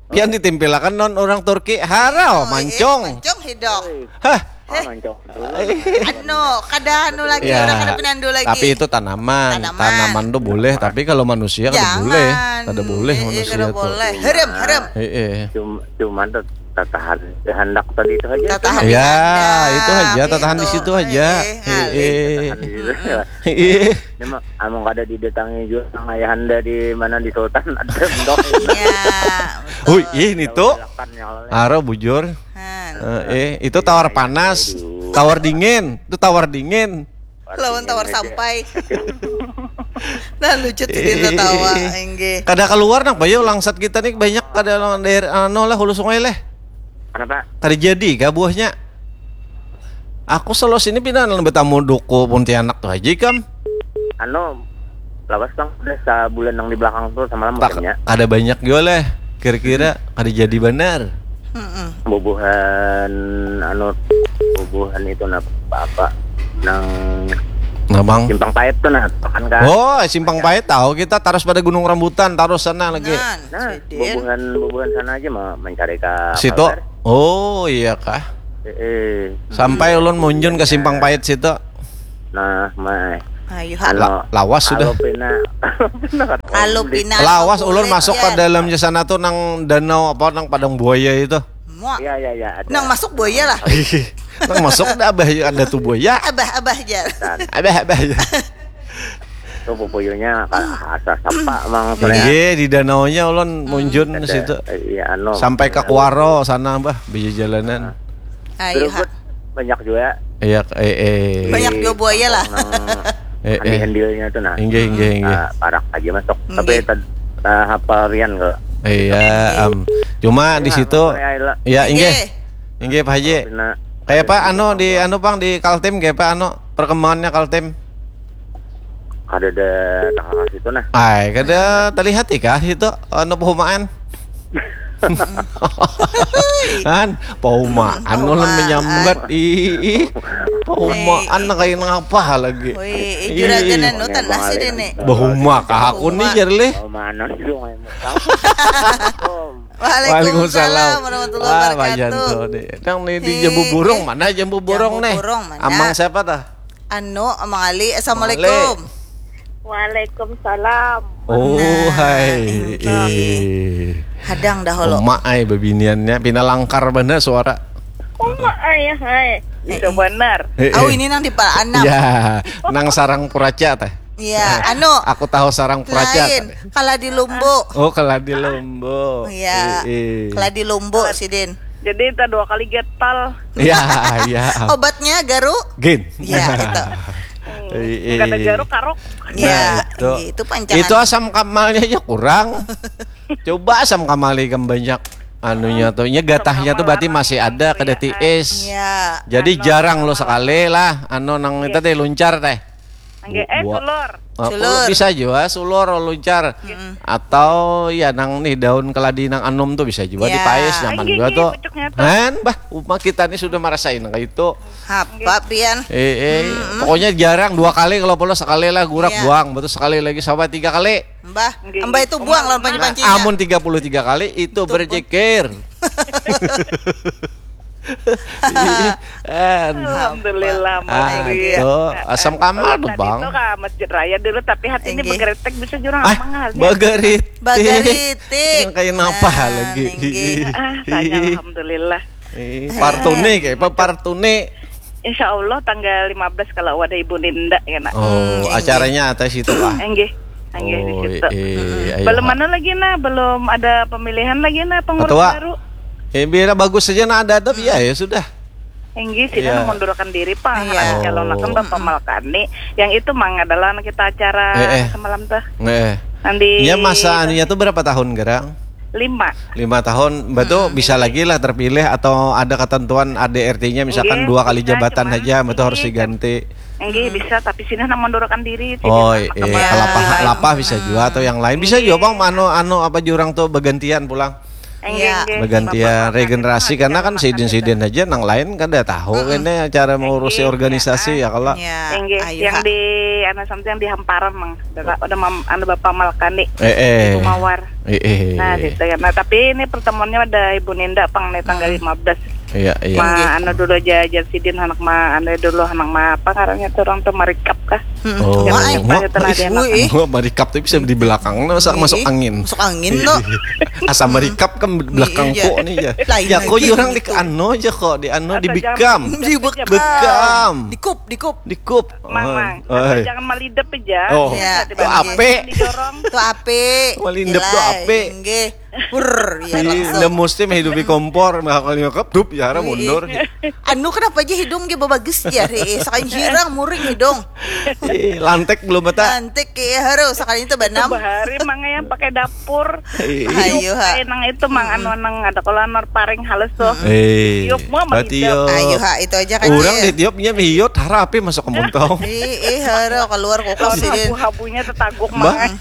Pian ditempelakan lawan orang Turki. Harau, Oh, mancong. Eh, mancong hidok. Hah. Oh, mancong. Anu, kada anu lagi, Ya, orang kada pinandu lagi. Tapi itu tanaman. Tanaman. Tanaman tuh boleh, tapi kalau manusia kada Jangan. Boleh. Kada boleh Eh, eh, manusia kada tuh. Boleh. Herem, herem. Eh, eh. Cuma, cuman tuh tatahan kehendak tadi itu aja. Tatahan Ya, kehendak, itu aja tatahan di gitu. Situ aja. Eh, eh, Eh, eh. Tahan di situ. Eh. Ini mah amun kada didatangi juga sang ayahanda di mana di Sultan ada bendok. Ya. Hui, ini tuh. Silakan ya Allah. Aro bujur. Han. Eh, eh, itu tawar panas, tawar dingin, itu tawar dingin. Lawan tawar sampai. Nah lucu tuh dia tawa, enggih. Kada keluar nang bayu langsat kita nih banyak kada lawan daerah anu lah hulu sungai leh. Kenapa? Kada jadi kah buahnya? Aku selalu sini pindah nang betamu duku Pontianak tuh aja ikam. Anu lawas bang udah sebulan yang di belakang tuh sama lama Tak makanya kada banyak juga leh. Kira-kira kada jadi benar. Mm-mm. bubuhan anu bubuhan itu nah apa nang Nah, Bang. simpang pahit tuh nah kan kan Oh, Simpang Pahit tahu kita terus pada Gunung Rambutan terus sana lagi. Nan, nah sidin. bubuhan bubuhan sana aja mah mencari ke Situ. Kalbar. Oh, iya kah? Eh, eh. Sampai ulun munjun ke Simpang Pahit situ. Nah mai Ayo ha. La- lawas sudah. Kalau pina kalau pina Kalau pina Lawas ulun kulit masuk ke ya. Dalamnya sana tuh nang danau apa nang padang buaya itu. Muak. Ya ya ya ada. Nang masuk buaya lah. Nang masuk dah abah ada tuh buaya. Abah-abah aja. Abah abah. Tuh pupuyunya asa sapa mang sore. Iya di danaunya ulun munjun ke situ. Iya anu. Sampai ke Kuaro sana bah bisa jalanan. Ayo ha. Banyak juga. Iya eh eh. Banyak juga buaya lah. Nang Eh eh. handil-handilnya tuh nah. Inggih inggih inggih. Ah, parak aja masuk. Tapi Inggih. tad ah, hapal rian ke. Iya am. Cuma di situ Nah, ya inggih. Inggih. Inggih Pak Haji. Nah, Kayak apa anu di anu Bang di Kaltim kayak apa anu perkembangannya Kaltim? Kada ada tanggal situ nah. Ai, kada terlihat kah itu anu perumahan? Kan perumahan ulun Perumahan. Menyambat ih ih. Perumahan kayak ngapa lagi? Woi, eh, juragan anu tanah sih dene. Bahuma kah aku nih jar leh. Oh, mana sih lu main Waalaikumsalam warahmatullahi Ah, Pak wabarakatuh. Janto deh. Nang nih di Eh, Jambu Burung eh, mana Jambu Burung Jambu nih? Burung mana? Amang siapa dah? Anu, Amang Ali, assalamualaikum. Waalaikumsalam. Oh, Nah, hai. inggih. Eh. Hadang dahulu. Emak ai bebiniannya pina langkar bener suara. Uma ayah hai. Itu Eh, eh. Benar. Eh, Oh, eh. Ini nang di Paanam. Ya, nang sarang puraca teh. Iya, anu. Aku tahu sarang puraca. Lain, Teh. Kaladi Lumbu. Oh, Kaladi Lumbu. Iya. Eh, eh. Kaladi Lumbu sidin. Jadi kita dua kali gatal. Ya, ya. Obatnya garu. Gin. Ya, itu. Eh, eh. Kada garuk karok. Ya, Nah, itu. Itu pancangan. Itu asam kamalnya aja kurang. Coba asam kamal ikam banyak anunya tuh. Nya gatahnya tuh berarti masih ada kada tiis. Ya. Jadi Anu, jarang lo kamal. Sekali lah anu nang itu teh luncar teh. Angge eh Buah. Sulur. Oh, Sulur. bisa juga sulur luncar. Atau ya nang nih daun keladi nang anum tuh bisa juga Ya. dipais nyaman Angge, juga angge, tuh. pucuknya tuh. Kan bah, uma kita nih sudah merasain kayak itu. Apa pian? Eh, eh, pokoknya jarang dua kali kalau perlu sekali lah gurak Iya. buang, betul sekali lagi sampai tiga kali. Mbah, Nggih, mbah itu nggih. buang lawan Nah, panci-pancinya. amun tiga puluh tiga kali itu Itu pun. Berzikir. Iya, kan. Alhamdulillah, Ah, Mas Ria. itu asam kamal tuh, Tadi Bang. Itu ke Masjid Raya dulu, tapi hati ini Inggih. Begeritik bisa jurang Ah, mangal. Begeritik. Begeritik. Yang kayak napa Nah, lagi? inggih. Ah, saya alhamdulillah. Eh, Partune kayak apa Partune? Insya Allah tanggal lima belas kalau ada Ibu Ninda ya nak. Oh, Hmm, acaranya atas itu lah. Enggih. Anggih di Oh, situ. eh, ayo, Belum ha. Mana lagi nah, belum ada pemilihan lagi nah pengurus Ketua. Baru. Eh, biar bagus saja nah ada adab ya, ya sudah. Inggih, sini Iya. Mengundurkan diri pang Iya. Calon akan Oh. Bapak Malkani. Yang itu mang adalah anak kita acara Eh, eh. semalam tuh. Eh. Nanti Ya masa anunya tuh berapa tahun gerang? Lima. Lima tahun, betul bisa lagi lah terpilih atau ada ketentuan A D R T-nya misalkan Nggih, dua kali bisa, jabatan cuman aja, betul harus nggih, diganti. Nggih, bisa, tapi sini nak mundurkan diri. Oh, Jadi, eh, anak kelapa kembali. kelapa bisa juga atau yang lain bisa juga bang anu anu apa jurang tuh bergantian pulang. Nggih, Iya. nggih. Bergantian Bapak-bapak regenerasi akan karena kan makan sidin-sidin aja nang lain kada tahu ini cara mengurusi Nggih, organisasi ya kalau Ya, Inggih, ayo, yang ha. Di anu sampai yang di Hamparan mang. Udah, udah mam, anu Bapak Malkani. eh eh Di Mawar. eh eh Nah, gitu ya. Nah, tapi ini pertemuannya ada Ibu Ninda pang nih tanggal lima belas. iya iya Ma, anu dulu aja ajar sidin anak ma anu dulu anak ma apa ngarannya tuh orang tuh marikap kah? Oh, Yang ma- menyimpan itu lah dia anak. Ih. Wah, marikap tuh bisa di belakang nah, masa Ih, masuk angin. Masuk angin tuh. Asa marikap kan belakang Iya. kok nih ya. Lain Ya kok lagi jurang gitu. Di anu aja kok di anu di Atau bekam. Di bekam. Bekam. Dikup, dikup. Dikup. Mang, mang. Oi. Jangan malidep aja. Oh. Ya, Tiba-tiba Ape. Didorong. Tuh ape. Malindep tuh Ilai, ape. Inggih. Pur, ya Di langsung. Nda mesti menghidupi kompor, mah kalau nyokap dup ya hara mundur. Anu kenapa aja hidung ge babagus ya, ri. Sakan jirang muring hidung. Ih, lantek belum bata. Lantik ya haru sakali itu banam. Bahari mang yang pakai dapur. Ih. Ayo ha. Kayak nang itu mang anu nang ada kalau anu paring halus tuh. Eh, Tiup mah berarti malidep. yo. Ayo ha itu aja kan. Orang Cil. Ditiupnya mihiyot hara api masuk ke muntau. Ih, ih, haru keluar kulkas Lawan sidin. Habu-habunya tetaguk Mbak, mang.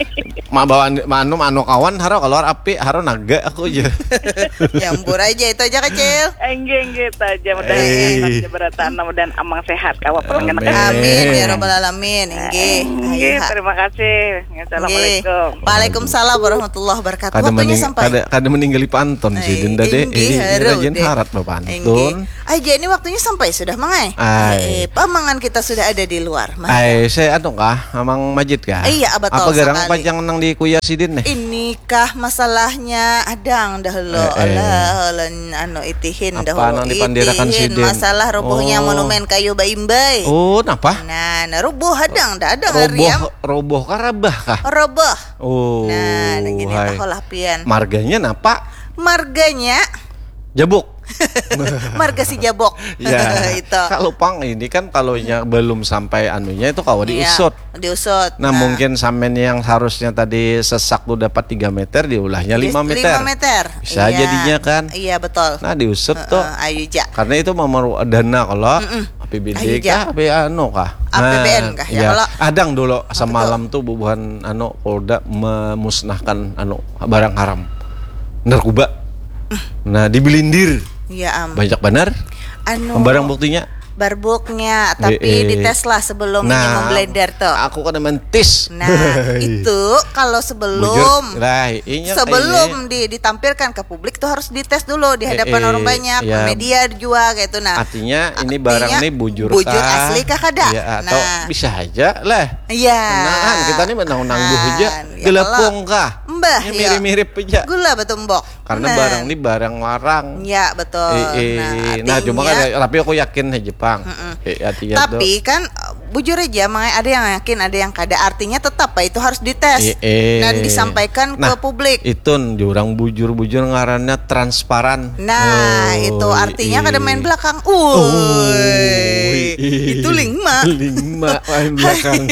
ma bawa anu anu kawan haro keluar api haro naga aku aja. Campur aja itu aja kecil. Enggak enggak itu aja mudah Eh. Jabatan mudah amang sehat kawa pulang kena Amin. Amin ya robbal alamin. Inggih. Ayo Enggak, ha. Terima kasih. Inggih. Assalamualaikum. Waalaikumsalam warahmatullahi wabarakatuh. Kada Waktunya mening, sampai. Kada kada meninggali pantun sih Eh, Dinda deh. Inggih, Eh, haru rajin deh. Harat bapantun. Inggih. Aja ini waktunya sampai sudah mangai. Ai. Eh, pamangan kita sudah ada di luar. Mah. Ai, saya anu kah, Amang Majid kah? Iya, betul Apa garang sekali. Pajang nang di kuya sidin nih? Inikah masalahnya adang dahulu Eh, eh. Alah, ulun anu itihin Apa dahulu nang dipandirakan itihin sidin? Masalah rubuhnya Oh. monumen kayu baimbai. Oh, napa? Nah, nah rubuh hadang dah ada Roboh, ngariam. Roboh kah Rabah kah? Roboh. Oh. Nah, nah gini Hai. Tahu lah pian. Marganya napa? Marganya Jabuk. Marga si Jabok. Ya. Itu. Kalau pang ini kan kalau nya belum sampai anunya itu kawa Iya, diusut. Diusut. Nah, mungkin samen yang harusnya tadi sesak tuh dapat tiga meter diulahnya Di- lima meter. lima meter. Bisa Iya. Jadinya kan. Nah, Iya betul. Nah, diusut Heeh, tuh. Ayu ja. Karena itu memerlukan dana kalau A P B D Ayu ja. kah, A P B D anu kah? A P B N kah, ya, kalau Adang dulu semalam tuh bubuhan anu Polda memusnahkan anu barang haram. Narkoba. Nah, dibelindir. Iya am. Banyak benar. Anu. Barang buktinya. Barbuknya, tapi Eh, eh. Dites lah sebelum ini Nah, memblender tuh. Aku kada mentis. Nah, itu kalau sebelum Bujur. Lah, inya sebelum ini. Di, ditampilkan ke publik tuh harus dites dulu di hadapan Eh, eh, orang banyak, ya. Media juga gitu. Nah, Artinya ini artinya barang ini bujur bujur kah? asli kah kada? Ya, atau Nah. Bisa aja lah. Iya. Nah, kita ini menang nangguh aja. Nah, ya Gelepung kalau- kah? Mbah, Ini iya. mirip-mirip aja. Gula batumbok. Karena Nah. Barang ini barang larang. Ya betul. Eh, eh, Nah, nah, cuma artinya- kan tapi aku yakin aja Jepang. Eh, artinya Tapi kan bujur aja, makanya ada yang yakin, ada yang kada. Artinya tetap Pak itu harus dites Eh, eh. dan disampaikan Nah, ke publik. Itu jurang bujur-bujur ngarannya transparan. Nah, Oh, itu artinya eh. Kada main belakang. Oh, Uy, eh. Itu lingma. Lingma main belakang.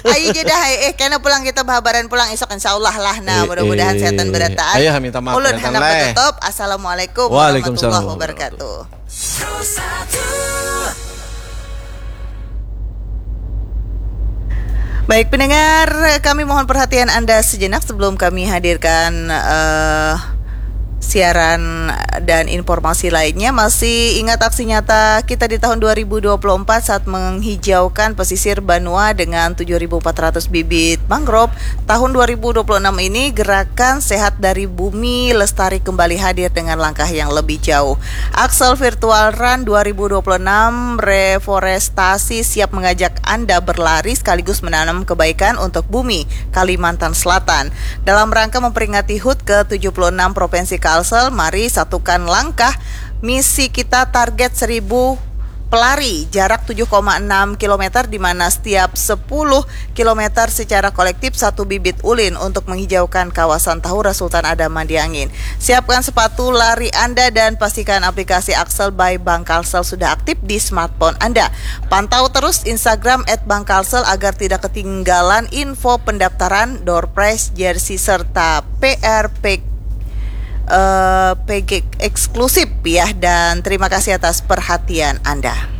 Ayo jadi hai eh kena pulang kita bahabaran pulang esok insyaallah lah. Nah, Eh, mudah-mudahan eh. sehat dan berataan. Ayo, kami tamat Ulun berataan hendak lah, eh. Menutup. Assalamualaikum Waalaikumsalam warahmatullahi wabarakatuh. Baik pendengar, kami mohon perhatian Anda sejenak sebelum kami hadirkan eh, siaran dan informasi lainnya. Masih ingat aksi nyata kita di tahun dua ribu dua puluh empat saat menghijaukan pesisir Banua dengan tujuh ribu empat ratus bibit mangrove. Tahun dua ribu dua puluh enam ini gerakan Sehat dari Bumi Lestari kembali hadir dengan langkah yang lebih jauh. Axel Virtual Run dua ribu dua puluh enam reforestasi siap mengajak Anda berlari sekaligus menanam kebaikan untuk bumi Kalimantan Selatan. Dalam rangka memperingati hut ke tujuh puluh enam Provinsi Kalsel, mari satukan langkah. Misi kita target seribu pelari jarak tujuh koma enam kilometer, di mana setiap sepuluh kilometer secara kolektif satu bibit ulin untuk menghijaukan kawasan Tahura Sultan Adam Mandiangin. Siapkan sepatu lari Anda dan pastikan aplikasi Axel by Bank Kalsel sudah aktif di smartphone Anda. Pantau terus Instagram at Bank Kalsel agar tidak ketinggalan info pendaftaran, door prize, jersey, serta P R P, eh, P G eksklusif ya. Dan terima kasih atas perhatian Anda.